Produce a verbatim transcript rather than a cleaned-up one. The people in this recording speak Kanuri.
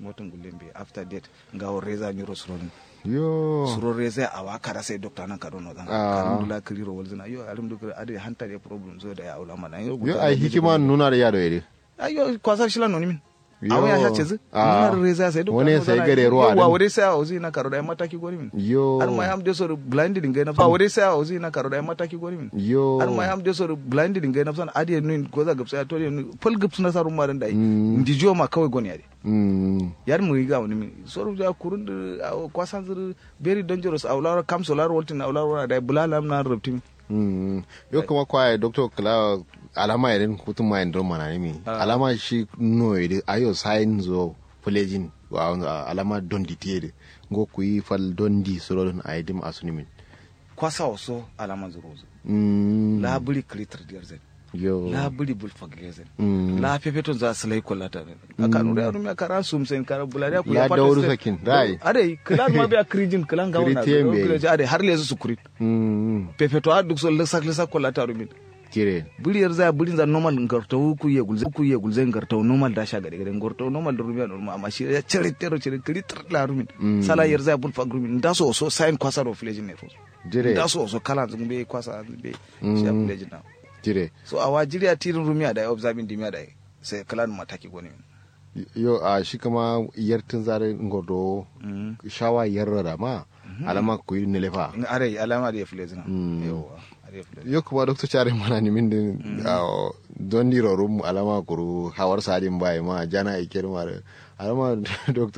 Moto ngulle mbeyi after death. Ngawo reza nyiro surodin. Yo. Suro reza awa kada sai dokta nan kado nozana. Kanun dula kiriro walzina yo alim duk ade hanta de problem so da ya ulama na yo. Yo ai hikima nuna da yado yede. Ayo kwasar shila noni min. Awo ya sha cezi. Nuna da reza sai dokta wani sai gare ruwa wa wade sai awo zina karo da mataki goni min. Yo har ma yam de so blind din ga nafsa wade sai awo zina karo da mataki goni min. Yo har ma yam de so blind din ga nafsa ade nun goza gabsa to de nun fal gabsu na sarun ma dan dai. Ndijo ma kawai goni ade. Yar mu riga wani min soru ja kurun da awo kwasan zuru. Very dangerous awo laro kam so laro waltin awo laro da bula lam na rubtin. Yo kuma kwaye doctor kala alama irin kutun ma indro manani mi alama shi no ide ayo sign zo pledging wa alama dondi tiede. Ngo kuyi fal dondi suro don aidim asuni min. Kwasa oso alama zuro zo. La buri kiritir diyar zai. Yo la buri bulfak lezen. La fefeton za silai kollata men. Akanu da rumiya kara sum sen kara bulariya ku ya fata dauru sakin rai. Adai kilan ma biya kirijin kilan gawo na. Ade har lezu sukurin. Fefeto har duk so lisak lisak kollata rumin. Kire buri yar zaya burin za normal ngartawu ku ye gulze ku ye gulze ngartawu normal da sha gade gade ngartawu normal da rumiya normal amma shi ya cire tero cire kiritir la rumin. Sala yar zaya bulfak rumin da so so sayin kwasa ro flejin ne so. Jire da so so kala zun be kwasa be. Shi ya flejin na. Jire so awa jiriya tirin rumiya da observing dimiya da sai kala mataki goni. Yo a shi kuma yartin zare ngordo shawa yarrara ma alama ku yi nilefa. Are alama da ya flejin na. Yawa. Yo kuma doctor care mana ni min din don diro rum alama kuru hawar sadin bai ma jana ikir mare alama doctor.